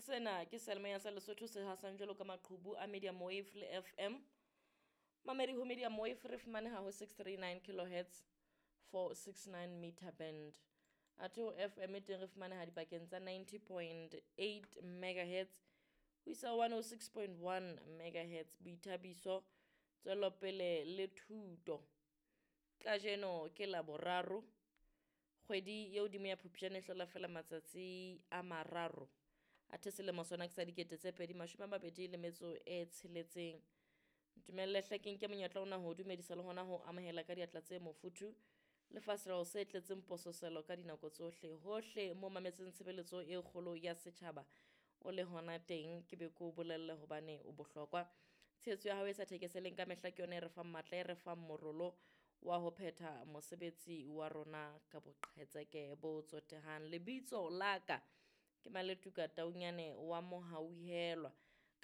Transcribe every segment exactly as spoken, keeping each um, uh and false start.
Sena ke seyalemoya sa Lesotho se hasang jwalo ka maqhubu a medium wave le F M. Mamedi, ho medium wave re fumaneha ho six three nine kilohertz, four six nine meter band. Athe ho F M teng re fumaneha dipakeng tsa ninety point eight megahertz ho isa one oh six point one megahertz. Boithabiso, tswelopele le thuto. Kajeno ke Laboraro, kgwedi ye hodimo ya Phupjane e hlola fela matsatsi a mararo. Athe selemo sona ke sa dikete tse pedi mashome a mabedi le metso e tsheletseng. Ntumelle hle ke nke monyetla ona ho dumedisa le hona ho amohela ka diatla tse mofuthu le fahleho se tletseng pososelo ka dinako tsohle. Hohle mo mametseng tshebeletso e kgolo ya setjhaba o le hona teng, ke be ke o bolelle hobane o bohlokwa. Tshehetso ya hao e sa thekeseleng ka mehla ke yona e re fang matla, e re fang morolo wa ho phetha mosebetsi wa rona ka boqhetseke bo tsotehang. Lebitso la ka ke Maletuka Taunyane wa Mohauhelwa.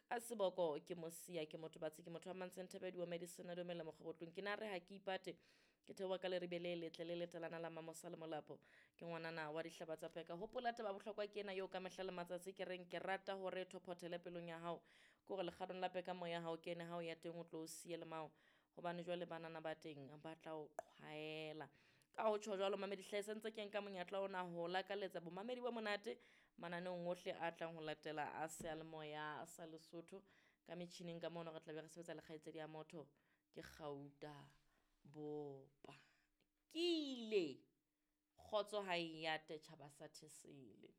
Ka seboko ke Mosia, ke motho batsi, ke motho wa Mantseng Thebedi wa Medicine dumela mokgobotlong. Ke na re ha ke ipate, ke theoha ka leribe le letle le letalana la Mamosa le Molapo. Ke ngwanana wa dihlaba tsa peka. Hopola taba bohlokwa ke ena eo ka mehla le matsatsi ke reng ke rata hore thophothele pelong ya hao. Ke hore lekgatong la peka moya ha o kene, ha o ya teng o tlo o siye le mao. Hobane jwale banana ba teng ba tla o qhwaela. Ka ho tjho jwalo mamedi hle se ntse ke nka monyetla ona ho lakaletsa bomamedi bo monate mananeong ohle a tlang ho latela a seyalemoya sa Lesotho. Ka metjhining ka mono re tla be re sebetsa le kgaitsedi ya motho ke Kgauta Bopa. Ke ile kgotso ha e ate tjhaba sa Thesele.